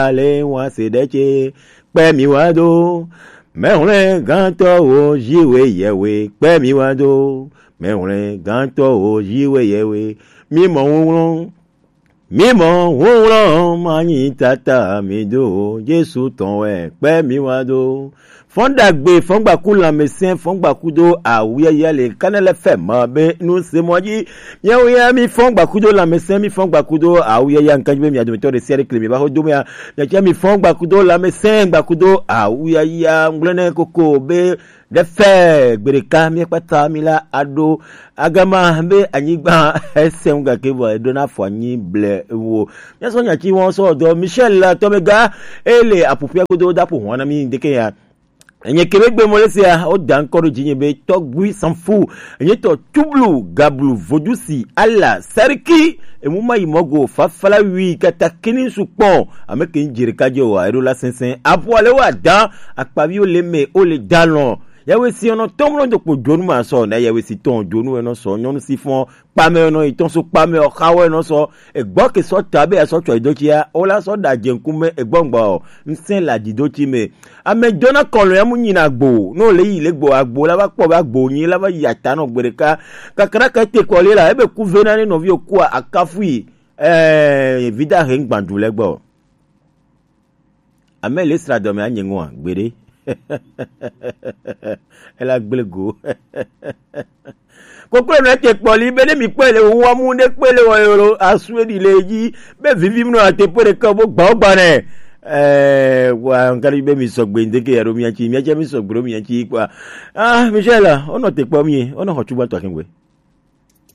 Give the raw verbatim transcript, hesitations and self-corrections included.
ale wa se ɖe tse kpe mi wa do. Mɛwlɛ gãtɔ wo ziwe yewe kpe mi wa do. Mɛwlɛ gãtɔ wo ziwe yewe. Mi mɔ ŋuŋlɔ. Mi mɔ ŋuŋlɔ ma nyi tata mi do. Jesu tɔn wɛ kpe mi wa do. Fɔn dagbe, fɔn gbaku lamɛsɛn, fɔn gbaku do awuyaya le kanɛlɛ fɛ ma be nu se mɔ dzi. Miawo ya mi fɔn gbaku do lamɛsɛn, mi fɔn gbaku do awuyaya nkan dzi be mia dometɔ ɖe sia ɖe kle mi va xo do mea. Miatsɛ mi fɔn gbaku do lamɛsɛn, gbaku do awuyaya ŋgblɛ ne koko be ɖe fɛ gbeɖeka miakpata mi la aɖo agama be anyigba ese ŋu gake vɔ eɖo na afɔ anyi ble wo. Míasɔ nya tsi wɔn sɔ dɔ Michel la tɔmɛ ga ele aƒuƒia godo da ƒo hɔn na mi ŋdeke ya. Enye kebe gbe mole sia o da ŋkɔ ɖo dzinye be tɔgbui sanfu enye tɔ tublu gablu vodusi ala sariki emu ma yi mɔgo fafala wi kata kini su kpɔn ame ke ŋdzi ɖeka dze o eɖo la sɛnsɛn aƒu ale wa da akpaviwo le me o le dalɔn. Yawe si ɔnɔ tɔmlɔ do kpo dzonu ma sɔ na yawe si tɔn dzonu enɔ sɔ nyɔnu si fɔn kpamɛ nɔ itɔn so kpamɛ ɔxawɛ nɔ sɔ egbɔ ke sɔ ta be asɔ tsɔ ido tsia o la sɔ da dze ŋkume egbɔ ŋgba o ŋsɛ la di do tsi me. Ame dona kɔlɔ ya mu nyina gbo no le yi le gbo agbo la va kpɔ be agbo nyi la va yi ata nɔ gbe ɖeka kakra ka te kɔ le la ebe ku ve na ne nɔvi o kua akafui. Eh vida he ŋgbandu le gbɔ. Ame le sra dɔme anye ŋua gbeɖe. Ela gble go. Koklo nɔ te kpɔli be ne mi kpɔe le wo wa mu ne kpɔe le wo yoro asue di le dzi be vivi mu no ate pe ɖeka bo gbawo gba ne. Eh wa ngari be mi sɔgbe ndeke ya ɖo mia tsi mia tsi mi sɔgbe ɖo mia tsi kpɔa. Ah Michel, wonɔ te kpɔ mi wonɔ xɔ tsu gbãtɔ akengbe.